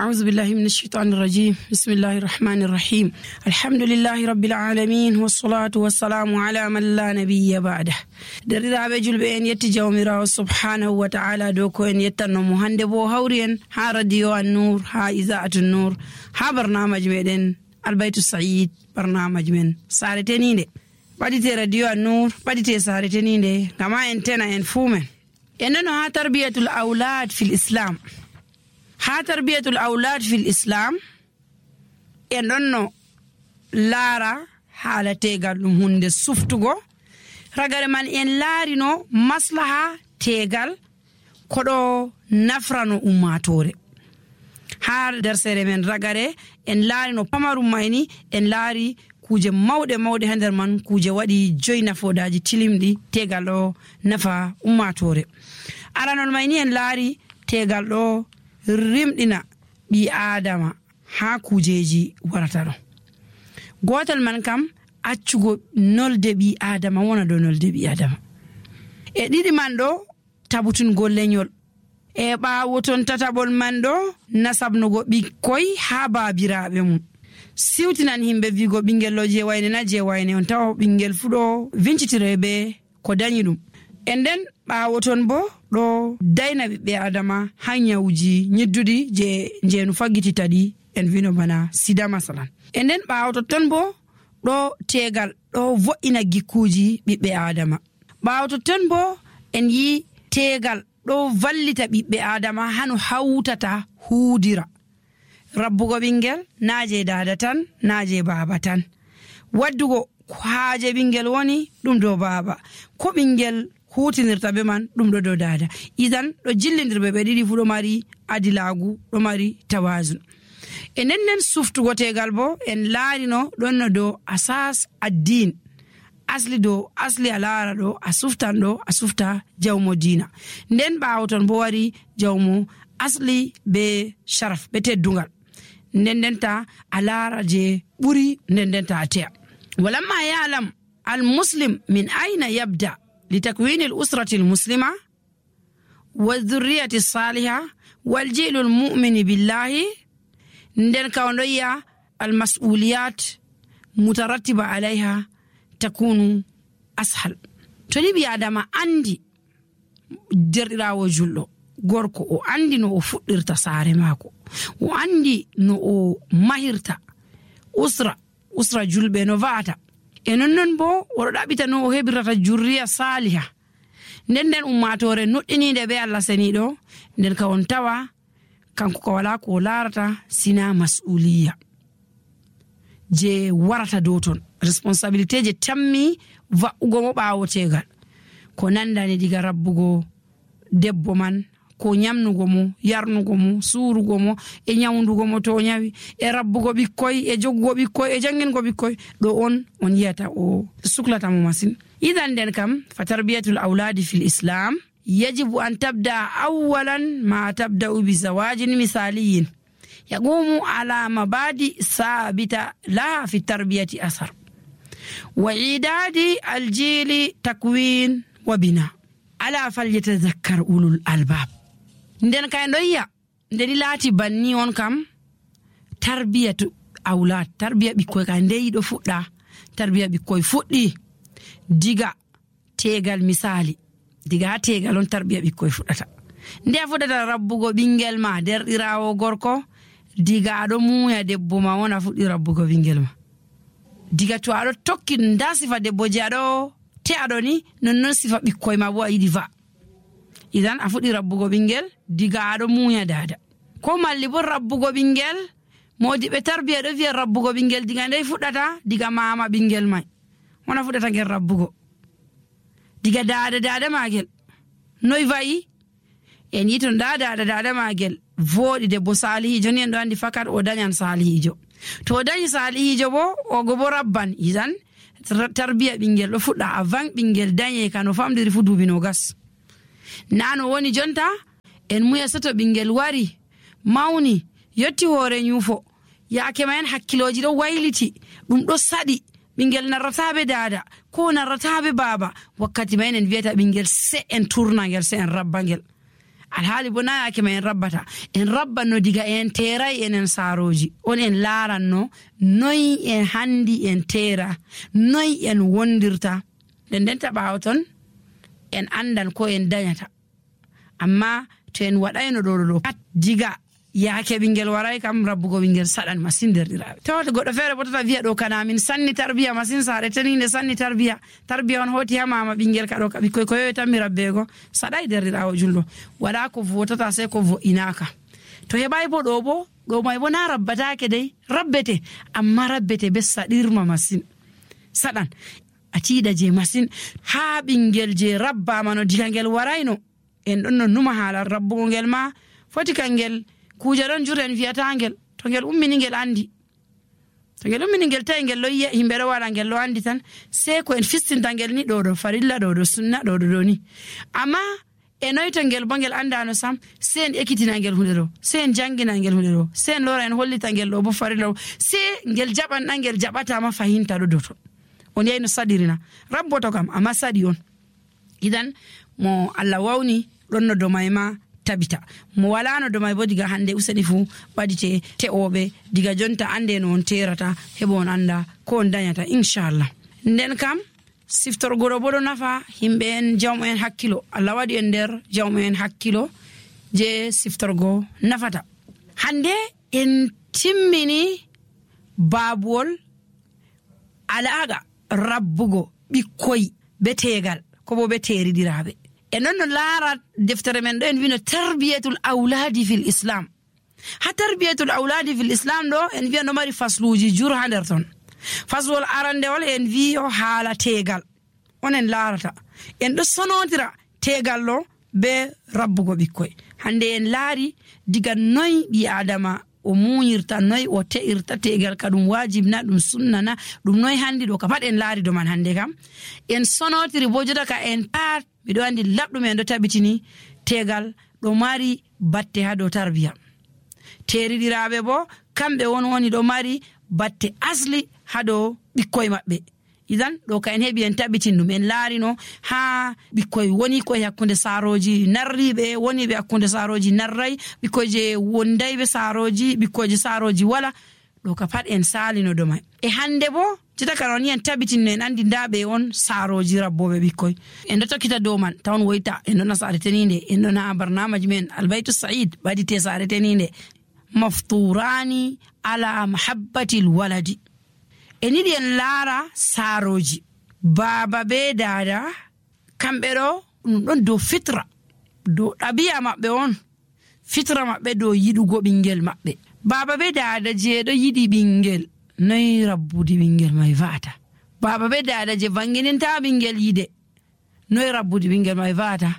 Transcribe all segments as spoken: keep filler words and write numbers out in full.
أعوذ بالله من الشيطان الرجيم بسم الله الرحمن الرحيم الحمد لله رب العالمين والصلاة والسلام على من لا نبي بعده درiraɓe julɓe en yetti jawmirawo subhanahu wa ta'ala dow ko en yettannomo hande bo hawri en ha radio an-nur ha iza'atu nur ha barnamaji meɗen albaytu sa'id barnamaji men sare teninde ɓaɗite radio an-nur ɓaɗite sare teninde gama en tena en fumen en nano ha tarbiyatul awlad fil islam ha tarbiyatul awlad fil islam en ɗonno laara haala tegal ɗum hunde suftugo ragare man en laarino maslaha tegal koɗo nafrano ummatore ha dersere men ragare en laarino pamarum mayni en laari kuje mawɗe mawɗe ha nder man kuje waɗi joyi nafodaji tilimɗi tegal ɗo nafa ummatore aranol mayni en laari tegal ɗo rimɗina ɓi adama ha kujeji warata ɗo gotal man kam accugo nolde ɓi adama wona dow nolde ɓi adama e ɗiɗi man ɗo tabutungol lenyol e ɓawo ton tataɓol man ɗo nasabnugo ɓikkoy ha babiraɓe mum siwtinan himɓe wigo ɓingel ɗo je wayne na je wayne on tawa ɓingel fu ɗo vincitire be ko dañi ɗum e nden ɓawo ton bo ɗo dayna ɓiɓɓe adama ha nyawuji nyidduɗi je jeenu faggitita ɗi en vino bana sida masalan e nden ɓawo totton bo ɗo tegal ɗo vo'ina gikkuji ɓiɓɓe adama ɓawo totton bo en yi tegal ɗo vallita ɓiɓɓe adama hano hawtata huudira rabbugo ɓingel naje dada tan naje baba tan waddugo haaje ɓingel woni ɗum dow baba ko ɓingel hutinirta be man ɗum ɗo dow dada idan ɗo jillidirɓe ɓe ɗiɗi fu ɗo mari adilagu ɗo mari tawazun e nden nden suftugo tegal bo en laarino ɗonno dow asas addin asli dow asli a laara ɗo a suftan ɗo a sufta jawmo dina nden ɓawo ton bo wari jawmo asli be sharaf be teddungal nden ndenta a laara je ɓuri nden ndenta a teya walamma ya'lam al muslim min aina yabda لتكوين الأسرة المسلمة والذرية الصالحة والجيل المؤمن بالله ندن كونيا المسؤوليات مترتبة عليها تكون أسهل تولي بي آدم عندي درira وجلو غوركو او عندي نو فدرتا ساري ماكو و عندي نو ماهرتا أسرة أسرة جلبه نو فاتا enon non bo woro ɗaɓita no o heɓirata jurriya saliha nden nden ummatore nuɗɗinide be Allah seniɗo nden ka on tawa kanko ko wala ko larata sina mas'uliya je warata dow ton responsabilité je tammi va'ugo mo ɓawo tegal ko nandani diga rabbugo debbo man ko nyamnugo mo yarnugo mo surugo mo e nyawndugo mo to nyawi e rabbugo bikkoy e joggo bikkoy e jangingo bikkoy do on on yata o suklata mo masin idan den kam fa tarbiyatul awladi fil islam yajibu an tabda awwalan ma tabda bi zawajin misaliyin yaqumu ala mabadi sabita la fi tarbiyati asar wa idadi aljili takwin wa bina ala falyatadhakkar ulul albab nden kay ndoyya ndeni laati banni on kam tarbiyatu awlad tarbiya bikkoy ka ndeyi do fudda tarbiya bikkoy fuddi diga tegal misali diga tegal on tarbiya bikkoy fuddata nde fuddata rabbugo bingel ma derdirawo gorko diga do muya debbo ma wona fuddi rabbugo bingel ma diga to ado tokki ndasi fa debbo jado te adoni non non sifa bikkoy ma bo ayidi va idan a fuɗi rabbugo ɓingel diga aɗo muya dada ko malli bo rabbugo ɓingel modi ɓe tarbiya ɗo wiya rabbugo ɓingel diga ndey fuɗɗata diga mama ɓingel mai wona fuɗɗata ngel rabbugo diga dada dada magel noy vayi en yi ton da dada dada magel voɗi debbo salihijo ni en ɗo andi fakat o dañan salihijo to o dañi salihijo bo ogo bo rabban idan tarbiya ɓingel ɗo fuɗɗa avant ɓingel dañe kano famdiri fu duubi no gas nano woni jonta en muya soto ɓingel wari mawni yotti hoore nyufo yaake ma en hakkiloji ɗo wayliti ɗum ɗo saɗi ɓingel narrataɓe dada ko narrataɓe baba wakkati ma en en wiyata ɓingel se en turnagel se en rabbangel alhaali bo na yaake ma en rabbata en rabbanno diga en teeray enen saaroji on en laaranno noy en handi en teera noy en wondirta nden nden ta ɓaawo ton en andan ko en dañata amma to en waɗayno ɗo ɗo pat diga yaake ɓingel waray kam rabbugo ɓingel saɗan masin derɗiraaɓe tawata goɗɗo feere bo tata wiya ɗo kana min sanni tarbiya masin saare teninde sanni tarbiya tarbiya on hoti ha mama ɓingel ka ɗo ka ɓikkoy ko yoyi tan mi rabbeego saɗay derɗiraawo julɗo waɗa ko votata sey ko vo'inaka to heɓay bo ɗo bo ɗo may bo na rabbataake dey rabbete amma rabbete be saɗirma masin saɗan a tiiɗa je masin ha ɓingel je rabbama no diga ngel warayno en ɗon no numa haala rabbugo ngel ma foti kangel kuuje ɗon jur en wiyata ngel to ngel ummini ngel andi to ngel ummini ngel tawi ngel loyiya yimɓe ɗo waɗa ngel lo andi tan sey ko en fistinta ngel ni ɗo ɗo farilla ɗo ɗo sunna ɗo ɗo ɗo ni amma e noyto ngel bo ngel andano sam sey en ekkitina ngel hunde ɗo sey en jangina ngel hunde ɗo sey en lora en hollita ngel ɗo bo farilla ɗo sey ngel jaɓan ɗan ngel jaɓatama fahinta ɗo doto on yeyno saɗirina rabboto kam amma saɗi on idan mo Allah wawni ɗon no domay ma tabita mo walano domay bo diga hande useni fu ɓadite te'oɓe diga jonta ande no on terata heɓo on anda ko on dañata inchallah nden kam siftorgoɗo bo ɗo nafa himɓe en jawmo en hakkilo Allah waɗi en nder jawmo en hakkilo je siftorgo nafata hande en timmini babuwol alaga rabbugo ɓikkoy be tegal ko bo be teriɗiraɓe e non no laara deftere men ɗo en wino tarbiyatul awladi fil islam ha tarbiyatul awladi fil islam ɗo en wiya no mari fasluji jur ha nder ton faslol arandewol en wi o haala tegal onen laarata en ɗo sonodira tegal ɗo be rabbugo ɓikkoy hande en laari diga noy ɓi adama o muñirta noy o te'irta tegal ka ɗum wajibna ɗum sunnana ɗum noy handi ɗo ka pat en laari do man hande kam en sonotiri bo jota ka en pat miɗo andi laɓɗum en ɗo tabitini tegal ɗo mari batte ha dow tarbiya teriɗiraɓe bo kamɓe won woni ɗo mari batte asli ha dow ɓikkoy maɓɓe idan ɗo ka en heɓi en tabitin ɗum en laarino ha ɓikkoy woni koye hakkunde saaroji narriɓe woniɓe hakkunde saaroji narray ɓikkoy je wondayɓe saaroji ɓikkoyje saaroji wala ɗo ka pat en salino ɗo may e hande bo jita ka non en tabitinno en andi ndaɓe on saaroji rabboɓe ɓikkoy en ɗo tokkita dow man tawan woyta en ɗona saare teninde en ɗona barnamaji men albaytu said ɓadite saare teninde mafturani ala mahabbatil waladi en yiɗi en laara saaroji baaba be daada kamɓe ɗo ɗum ɗon dow fitra dow ɗabi'a maɓɓe on fitra maɓɓe dow yiɗugo ɓingel maɓɓe baaba be daada je ɗo yiɗi ɓingel noy rabbude ɓingel may va'ata baaba be daada je vangininta ɓingel yide noy rabbude ɓingel may va'ata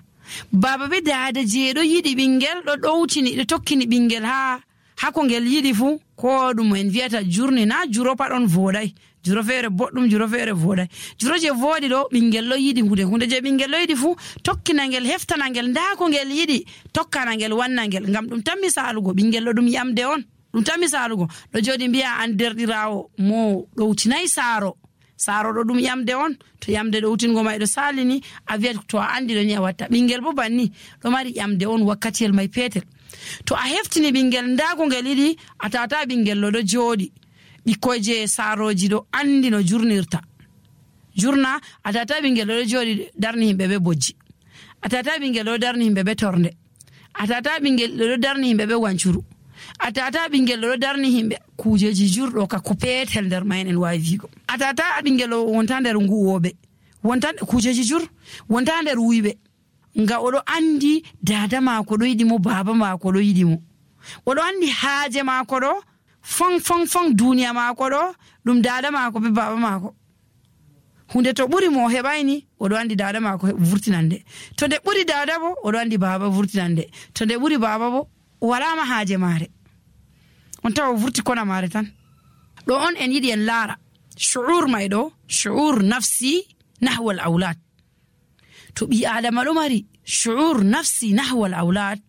baaba be daada je ɗo yiɗi ɓingel ɗo ɗowtini ɗo tokkini ɓingel ha hako ngel yiɗi fu ko ɗum en wiyata jurni na juro pat on voɗay juro feere boɗɗum juro feere voɗay juro je voɗi ɗo ɓingel ɗo yiɗi hunde hunde je ɓingel ɗo yiɗi fu tokkina ngel heftana ngel nda ko ngel yiɗi tokkana ngel wanna ngel ngam ɗum tan misalugo ɓingel ɗo ɗum yamde on ɗum tan misalugo ɗo joɗi mbiya an derɗirawo mo ɗowtinayi saaro saaro ɗo ɗum yamde on to yamde ɗowtingo may ɗo salini a wiyat to a andi ɗo ni a watta ɓingel bo banni ɗo mari yamde on wakkatiyel may petel to a heftini ɓingel nda ko ngel yiɗi a tata ɓingel ɗo ɗo jooɗi ɓikkoy je saaroji ɗo andi no jurnirta jurna a tata ɓingel ɗo ɗo jooɗi darni himɓe be bojji a tata ɓingel ɗo darni himɓe be torde a tata ɓingel ɗo ɗo darni himɓe be wancuru a tata ɓingel ɗo ɗo darni himɓe kujeji jurɗo ka ko petel nder mayen en wawi wigo a tata ɓingel ɗo wonta nder nguwoɓe wonta kujeji jur wonta nder wuyɓe nga oɗo andi dada mako ɗo yiɗi mo baba mako ɗo yiɗi mo oɗo andi haaje mako ɗo fon fon fon duniya mako ɗo ɗum dada mako be baba mako hunde to ɓuri mo heɓayni oɗo andi dada mako vurtinande to nde ɓuri dada bo oɗo andi baba vurtinande to nde ɓuri baba bo o walama haaje mare on tawa o vurti kona mare tan ɗo on en yiɗi en laara shu'ur may ɗo shu'ur nafsi nahwal aulad to ɓi adama ɗo mari shu'ur nafsi nahwal aulad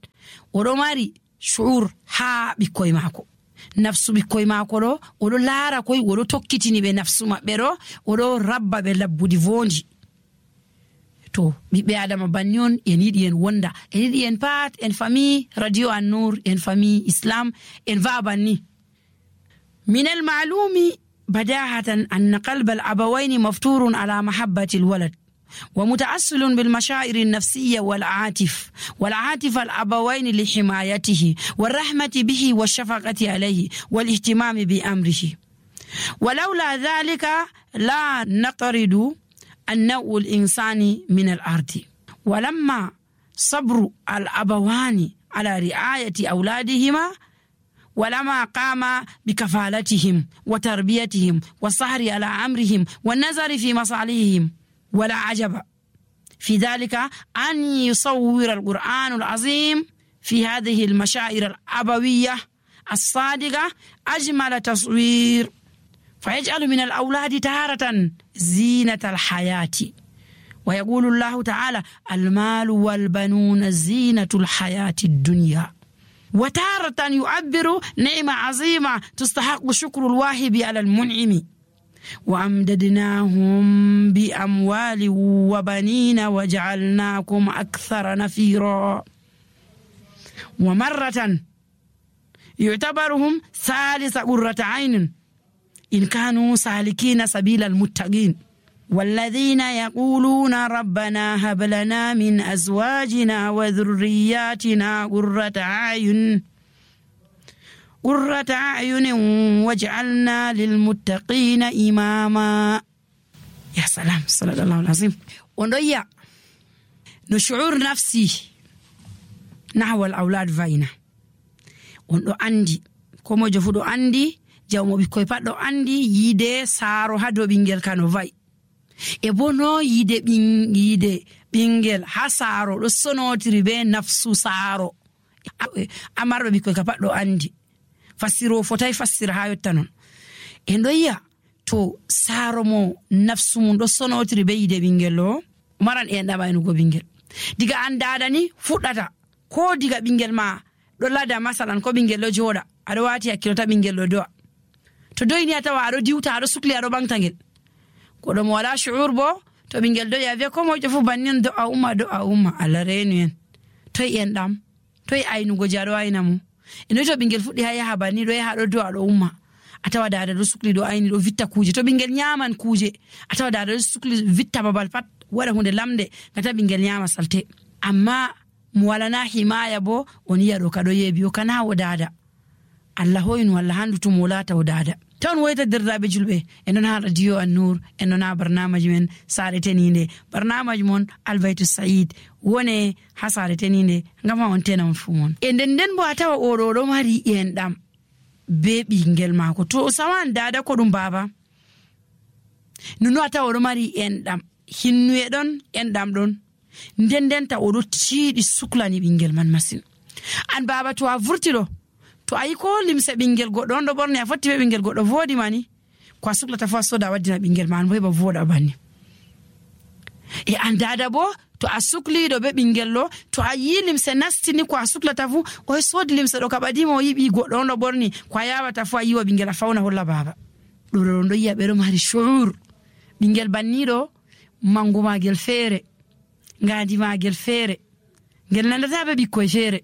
oɗo mari shu'ur ha ɓikkoy mako nafsu ɓikkoy mako ɗo oɗo laara koy oɗo tokkitini ɓe nafsu maɓɓe ɗo oɗo rabba ɓe labbudi vondi to ɓiɓɓe adama banni on en yiɗi en wonda en yiɗi en pat en famille radio An-Nur en famille islam en va'a banni. من المعلوم بداهة أن قلب الأبوين مفتور على محبة الولد ومتأصل بالمشاعر النفسية والعاطف والعاطف الأبوين لحمايته والرحمة به والشفقة عليه والاهتمام بأمره. ولولا ذلك لا نطرد النوع الإنساني من الأرض. ولما صبر الأبوان على رعاية أولادهما ولما قام بكفالتهم وتربيتهم والسهر على أمرهم والنظر في مصالحهم، ولا عجب في ذلك أن يصور القرآن العظيم في هذه المشاعر الأبوية الصادقة أجمل تصوير، فيجعل من الأولاد تارة زينة الحياة. ويقول الله تعالى: المال والبنون زينة الحياة الدنيا. وتارة يعبر نعمة عظيمة تستحق شكر الواهب على المنعم. وأمددناهم بأموال وبنين وجعلناكم أكثر نفيرا. ومرة يعتبرهم ثالث قرة عين إن كانوا سالكين سبيل المتقين. والذين يقولون ربنا هب لنا من أزواجنا وذرياتنا قرة أعين قرة أعين واجعلنا للمتقين إماما. يا سلام، صلى الله العظيم. ونضيع نشعور نفسي نحو الأولاد فاينا وندو عندي كما جفودو عندي جاومو بيكوي بادو عندي يده سارو هادو بينجل كانو فاي e bono yide bin yide bingel ha saaro do sonotiri be nafsu saaro amarbe bikoy ka paddo andi fasiro fotay fasira ha yotta non en doya to saaro mo nafsu mun do sonotiri be yide bingel lo maran en dama en go bingel diga andada ni fuddata ko diga bingel ma do lada masalan ko bingel lo joda ado wati hakilo ta bingel lo do to doyni atawa ado diwta ado sukli ado bangtangel ko do mo wala shuur bo to bingel do ya ve ko mo jofu bannin do a umma do a umma ala renu en toy en dam toy aynu go jaro ayna mu ino to bingel fuddi haya habani do ya do do ado umma atawa dada do sukli do ayni do vitta kuje to bingel nyaman kuje atawa dada do sukli vitta babal pat wada hunde lamde ngata bingel nyama salte amma mo wala na himaya bo oni yado kado yebi o kana wodada Allah hoynu walla handu to molata wodada ton woyta dirdabe julbe enon ha radio An-Nur enon ha barnamaj men sare teninde barnamaj mon albaytu said wone ha sare teninde ngama on tenam fumon e den den bo atawa odo do mari en dam be bingel mako to sawan dada ko dum baba nuno atawa do mari en dam hinnu e don en dam don den den ta odo tiidi suklani bingel man masin an baba to a vurtilo to ayi ko limse bingel goddo on do borne a fotti be bingel goddo vodi mani ko suklata fa soda waddina bingel man bo ba voda banni e andada bo to asukli do be bingel lo to ayi limse nastini ko suklata fu o sodi limse do kabadi mo yibi goddo on do borni ko yawata fu ayi wa bingel fauna holla baba do do yiya be do mari shuur bingel banni do manguma gel fere ngadi ma gel fere gel nandata be bikko fere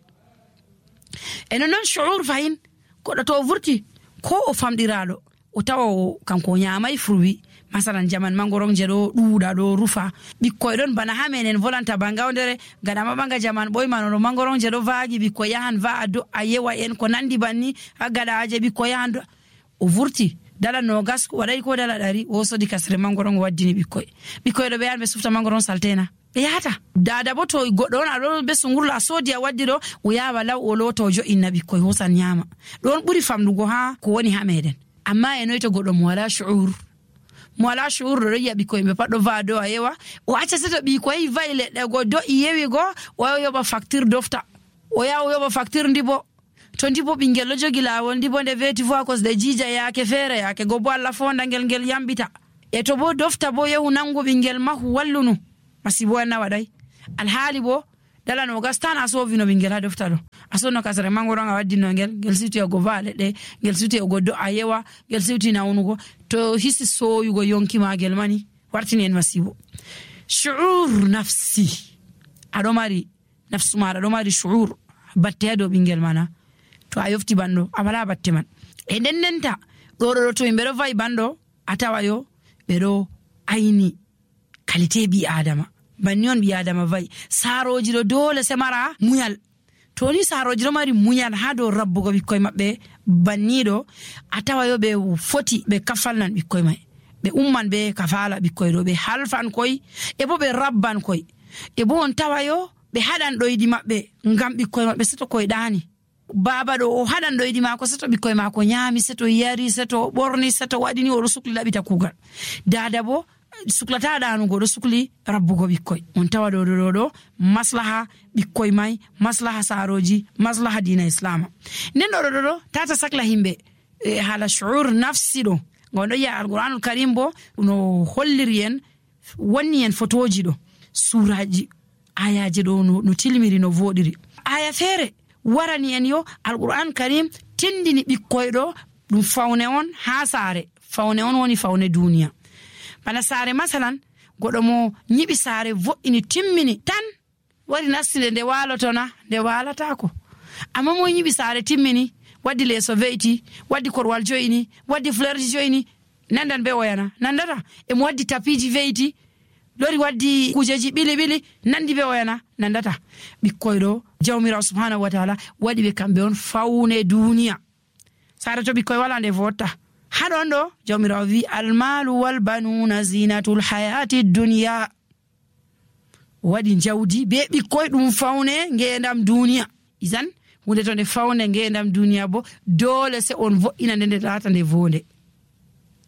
eno non shuur fayin ko do to vurti ko o famdirado o tawo kanko nyaamay fruwi masalan jaman mangoron jedo duuda do rufa bikkoy don bana hamenen volanta bangawdere gada mabanga jaman boy manono mangoron jedo vaagi bikkoy yahan va ado ayewa en ko nandi banni agada aje bikkoy yahan o vurti dala no gas waday ko dala dari o sodi kasre mangoron waddini bikkoy bikkoy do be yan be sufta mangoron saltena be yata dada bo to goddo on ado be sungurla sodi a waddi do o yawa law o loto jo inna bikkoy hosan nyama don buri famdugo ha ko woni ha meden amma eno to goddo mo wala shuur mo wala shuur do ya bikkoy be paddo va do ayewa o acca seto bikkoy vayle de go do yewi go o yoba facture dofta o yawo yoba facture ndibo to ndibo bingel jogi lawol ndibo de veti vo cause de jija yake fere yake go bo alla fonda ngel ngel yambita e to bo dofta bo yehu nango bingel mahu wallunu masibo na wadai alhali bo dala no gastan aso vino bingel ha dofta do aso no kasare mangoro nga waddi no ngel ngel situ go vale de ngel situ go do ayewa ngel situ na unugo to hisi so yugo yonki magel mani wartini en masibo shu'ur nafsi aɗo mari nafsu maɗa ɗo mari shu'ur batte ha dow ɓingel mana to a yofti banɗo a wala batte man e nden ndenta ɗo ɗo to yimɓe ɗo va'i banɗo a tawa yo ɓe ɗo ayni qualité ɓi adama banni on ɓi adama va'i saroji ɗo dole se mara munyal to ni saroji ɗo mari munyal ha dow rabbugo ɓikkoye maɓɓe banniɗo a tawa yo ɓe foti ɓe kafalnan ɓikkoye may ɓe umman ɓe kafala ɓikkoye ɗo ɓe halfan koy e bo ɓe rabban koy e bo on tawa yo ɓe haɗan ɗoyɗi maɓɓe ngam ɓikkoye maɓɓe seto koye ɗani baba ɗo o haɗan ɗoyɗi mako seto ɓikkoye mako nyami seto yari seto ɓorni seto waɗini oɗo sukli laɓita kugal dada bo suklata ɗanugo ɗo sukli rabbugo ɓikkoy on tawa ɗo ɗo ɗo maslaha ɓikkoy may maslaha saroji maslaha dina islama nden ɗo ɗo ɗo tata sakla himɓe e hala shu'ur nafsi ɗo gon ɗo yi'a alquranul karim bo no holliri en wonni en fotoji ɗo suraji ayaji ɗo no, no tilmiri no voɗiri aya feere warani en yo alquran karim tindini ɓikkoy ɗo ɗum fawne on ha saare fawne on woni fawne duniya bana saare masalan goɗo mo nyiɓi saare vo'ini timmini tan wari nastide nde walotona nde walatako amma mo nyiɓi saare timmini waddi leeso ve'iti waddi korwal joyini waddi fleurji joyini nandan be oyana nandata emo waddi tapiji ve'iti lori waddi kujeji ɓili ɓili nandi be oyana nandata ɓikkoy ɗo jawmirawo subhanahu wa taala waɗi ɓe kamɓe on fawne duniya saare to ɓikkoy wala nde votta haɗon ɗo jawmirawo wi almalu wal banuna zinatul hayati duniya waɗi jawdi be ɓikkoy ɗum fawne ngendam duniya isan hunde to nde fawne ngendam duniya bo dole se on vo'ina nde nde lata nde vonde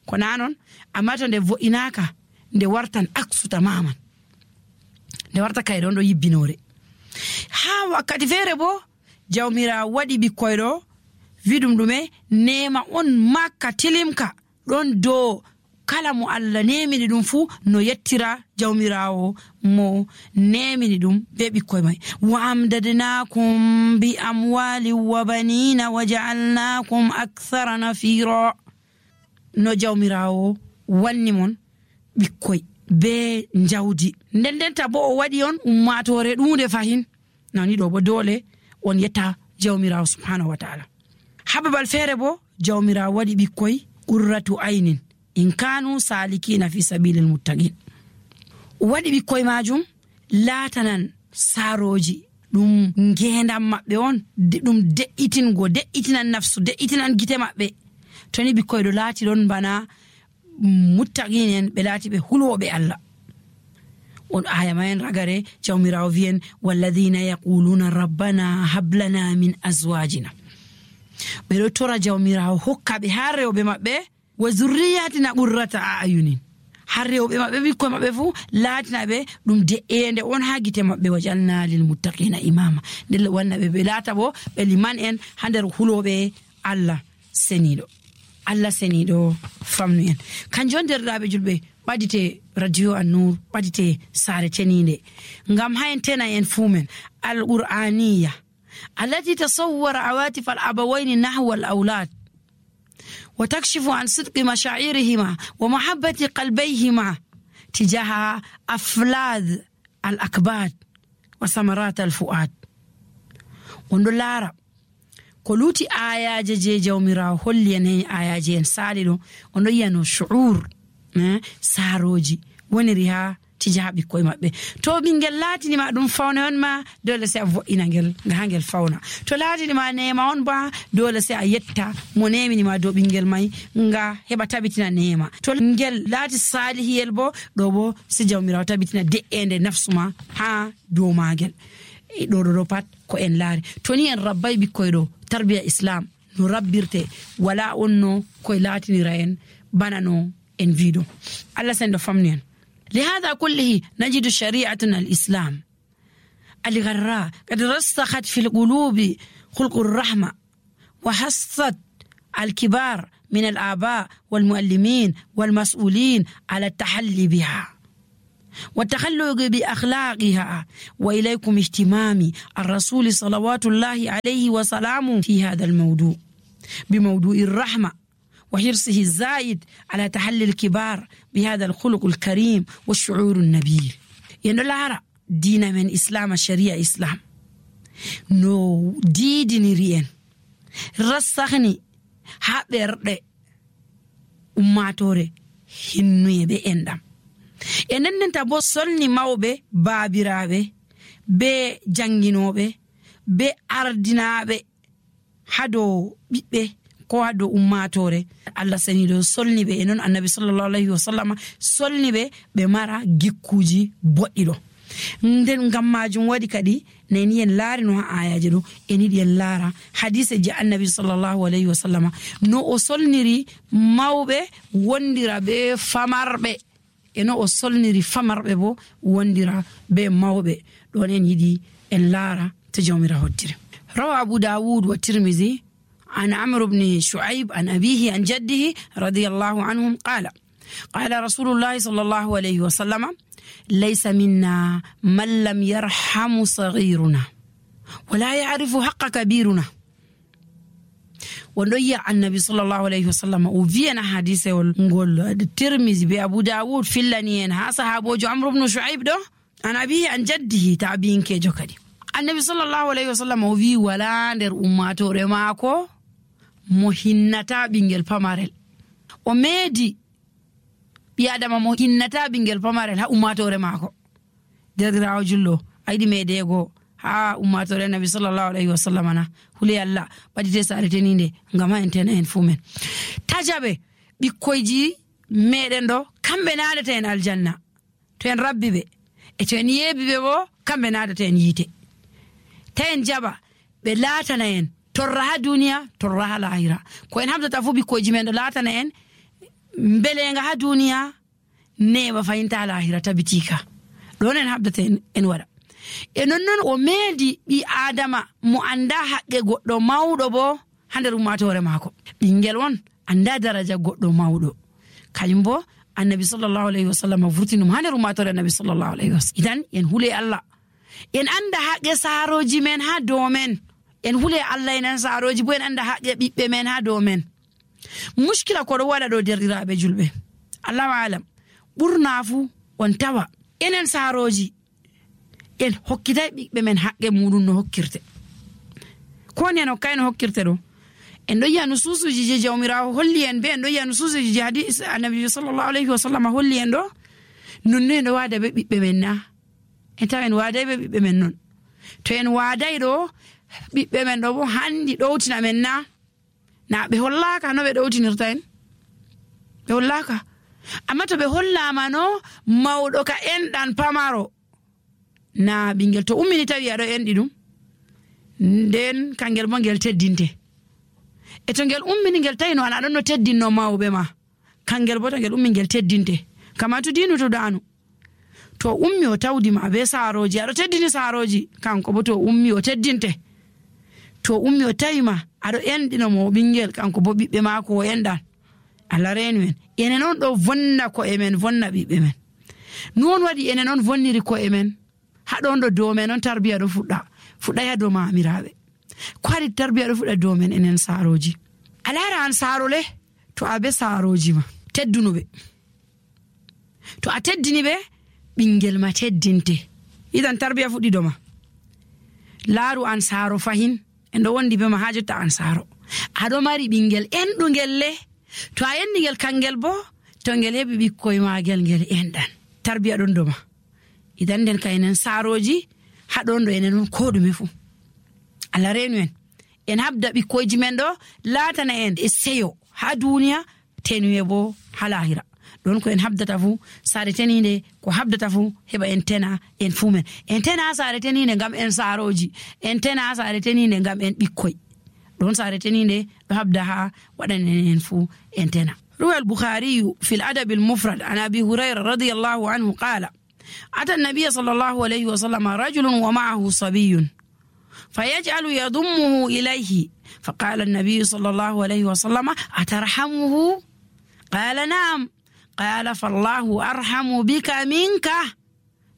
ko nanon amma to nde vo'inaka nde wartan aksu tamaman nde warta kay ɗon ɗo yibbinore ha wakkati feere bo jawmirawo waɗi ɓikkoy ɗo wiɗum ɗume nema on makka tilimka ɗon dow kala mo Allah nemini ɗum fuu no yettira jawmirawo mo nemini ɗum be ɓikkoye may wa amdadnakum bi amwali wa banina wa ja'alnakum akthara nafira no jawmirawo wanni mon ɓikkoy be jawdi nden ndenta bo o waɗi on ummatore ɗunde fahin nani ɗo bo dole on yetta jawmirawo subhanahu wa ta'ala hababal feere bo jawmirawo waɗi ɓikkoy qurratu aynin in kanu salikina fi sabilil muttaqin waɗi ɓikkoy majum laatanan saroji ɗum ngendam maɓɓe on ɗum de'itingo de'itinan nafsu de'itinan gite maɓɓe toni ɓikkoy ɗo laati ɗon bana muttaqin en ɓe laati ɓe hulwoɓe Allah on aya ma en ragare jawmirawo wiyen walladhina yaquluna rabbana hablana min azwajina ɓe ɗo tora jawmirawo hokka ɓe ha rewɓe maɓɓe wa zurriyatina qurrata ayunin har rewɓe maɓɓe ɓikkoy maɓɓe fuu laatina ɓe ɗum de'ende on ha gite maɓɓe wajalna lil muttaqina imama nde wanna ɓe ɓe laata bo ɓe liman en ha nder huloɓe Allah seniɗo Allah seniɗo famnu en kanjum derɗaɓe julɓe ɓadite radio An-Nur ɓadite saare teninde ngam ha en tena en fumen al-qur'aniya التي تصور عواطف الأبوين نحو الأولاد وتكشف عن صدق مشاعرهما ومحبة قلبيهما تجاه أفلاذ الأكباد وثمرات الفؤاد وندلارا كلوتي آيا جي جوميرا هوليان آيا جين ساليدو ونيانو شعور ساروجي ونريها tija ɓikkoye maɓɓe to ɓingel laatini ma ɗum fawne on ma dole se a vo'ina ngel nga ha ngel fawna to laatini ma nema on ba dole se a yetta mo nemini ma dow ɓingel may nga heɓa tabitina nema to ngel laati salihiyel bo ɗo bo si jawmirawo tabitina de'ende nafsuma ha dow magel ɗo ɗo ɗo pat ko en laari to ni en rabbay ɓikkoye ɗo tarbiya islam no rabbirte wala on no koye laatinira en bana no en wiɗo Allah sen ɗo famni en لهذا كله نجد شريعتنا الإسلام الغراء قد رسخت في القلوب خلق الرحمة وحثت الكبار من الآباء والمعلمين والمسؤولين على التحلي بها والتخلق بأخلاقها وإليكم اهتمام الرسول صلوات الله عليه وسلامه في هذا الموضوع بموضوع الرحمة وحرصه الزائد على تحلي الكبار بهذا الخلق الكريم والشعور النبيل endo laara diina men islam sharia islam no diidiniri en rassahni ha ɓerɗe ummatore hinnuye ɓe enɗam e nendenta bo solni mawɓe baabiraɓe be janginoɓe be ardinaɓe ha dow ɓiɓɓe ko ha dow ummatore Allah sani ɗo solni ɓe e noon annabi sallallahu alayhi wa sallam solni ɓe ɓe mara gikkuji boɗɗi ɗo nden ngam majum waɗi kadi nani en laari no ha ayaji ɗo en yiɗi en laara hadise je annabi sallallahu alayhi wa sallam no o solniri mawɓe wondira be famarɓe e no o solniri famarɓe bo wondira be mawɓe ɗon en yiɗi en laara to jawmira hoddire. rawa abu dawud wa tirmizi an amr ibn shu'aib an abihi an jaddihi radiyallahu anhum qala qala rasulullahi sallallahu alayhi wa sallam ليس منا من لم يرحم صغيرنا ولا يعرف حق كبيرنا. ونويا النبي صلى الله عليه وسلم وفينا حديثه ونقول الترمذي بأبو داود في اللنين ها صحابه عمرو بن شعيب ده عن أبيه عن جده تعبين كيجو كدي النبي صلى الله عليه وسلم وفي ولا ندر أمته رماكو مهنتا بينجل فمارل وميدي biadama mo hinnata bingel pamarel ha ummatore mako derdiraawo jullo aydi medego ha ummatore nabi sallallahu alaihi wasallam na huli Allah badite sareteninde ngama entena en fumen tajabe bikkoyji meden do kambe naadata en aljanna to en rabbibe e to en yebibe bo kambe naadata en yite tayen jaba be latana en torra ha duniya torra ha lahira ko en habdata fu bikkoyji men do latana en mbelenga ha duniya neba fayinta lahira tabitika don en habdata en wada e non non o meedi bi adama mo anda haqqe goddo mawdo bo hander ummatore mako bingel won anda daraja goddo mawdo kalimbo annabi sallallahu alaihi wasallam vurtinum hander ummatore annabi sallallahu alaihi wasallam idan en hule Allah en anda haqqe saroji men ha do men en hule Allah en saroji bo en anda haqqe bibbe men ha do men mushkila ko do wada do derdiraabe julbe Allahu alam burna fu on tawa enen saroji en hokkitay bibbe men haqqe mudun no hokkirte ko ne no kayno hokkirte do en do yanu susuji je jawmirawo holli en be en do yanu susuji je hadis annabi sallallahu alaihi wasallam holli en do non ne do wada be bibbe men na en tawen wada be bibbe men non to en waday do bibbe men do bo handi dowtina men na na be hollaka no be dowtinirta en be hollaka amma to be hollama no mawdo ka endan pamaro na bingel to ummini tawi ado endi dum den kangel mo ngel teddinte e to ngel ummini ngel tayno ana don no teddinno mawbe ma kangel bo to ngel ummi ngel teddinte kama to dinu to danu to ummi o tawdi ma be saroji ado teddini saroji kanko bo to ummi o teddinte to ummi o tayima ado endino mo bingel kanko bo bibbe mako o endan Allah renu en ene non do vonna ko emen vonna bibbe men non wadi ene non vonniri ko emen ha don do do men non tarbiya do fudda fudda ya do maamirabe ko hadi tarbiya do fudda do men enen saroji alara an sarole to abe saroji ma teddunube to a teddini be bingel ma teddinte idan tarbiya fuddi do ma laru an saro fahin en do wondi be ma hajata an saro ado mari bingel endu ngelle to a yendi ngel kangel bo to ngel hebi bikkoy magel ngel endan tarbiya don doma idan den kaynen saroji hadon do enen ko dume fu ala renu en en habda bikkoyji men do latana en e seyo ha duniya tenuye bo halahira don ko en habdata fu sare teninde ko habdata fu heba en tena en fumen en tena sare teninde ngam en saroji en tena sare teninde ngam en bikkoy don sare teninde do habda ha wadan en fu en tena. روى البخاري في الأدب المفرد عن أبي هريرة رضي الله عنه قال أتى النبي صلى الله عليه وسلم رجل ومعه صبي فيجعل يضمه إليه فقال النبي صلى الله عليه وسلم أترحمه؟ قال نعم. قال فالله أرحم بك منك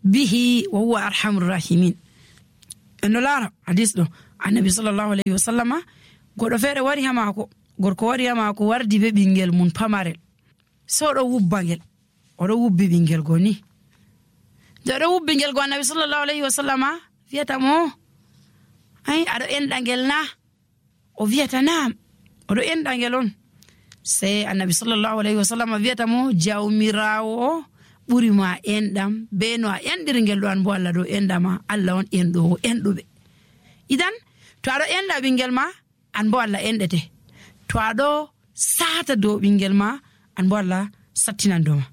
به وهو أرحم الراحمين. إنه لا حديث له عن النبي صلى الله عليه وسلم قد فير وريها معكو gorko wari ma ko wardi be bingel mun pamarel so do wubbangel o do wubbi bingel goni nde oɗo wubbi ngel go annabi sallallahu alayhi wa sallama wiyata mo ay aɗo enɗa ngel na o wiyata naam oɗo enɗa ngel on sey annabi sallallahu alayhi wa sallama wiyata mo jawmirawo o ɓuri ma enɗam be no a enɗiri ngel ɗo an bo Allah ɗo enɗama Allah on enɗowo enɗuɓe idan to aɗo enɗa ɓingel ma an bo Allah enɗete to aɗo sata dow ɓingel ma an bo Allah sattinan dow ma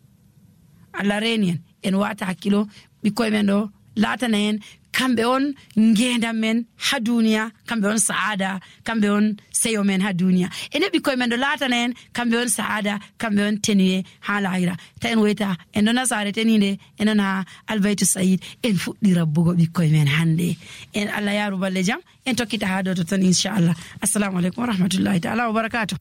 Allah reni en en wata hakkilo ɓikkoye men ɗo latana en kamɓe on ngendam men ha duniya kamɓe on saada kamɓe on seyo men ha duniya ene ɓikkoye men ɗo latana en kamɓe on saada kamɓe on tenuye ha lahira ta en woyta en ɗo nasare tenide enon ha albaytu sayid en fuɗɗi rabbugo ɓikkoye men hande en Allah yaru balle jam en tokkita ha dow ton inchallah assalamu aleykum wa rahmatullahi taala wa barakatuh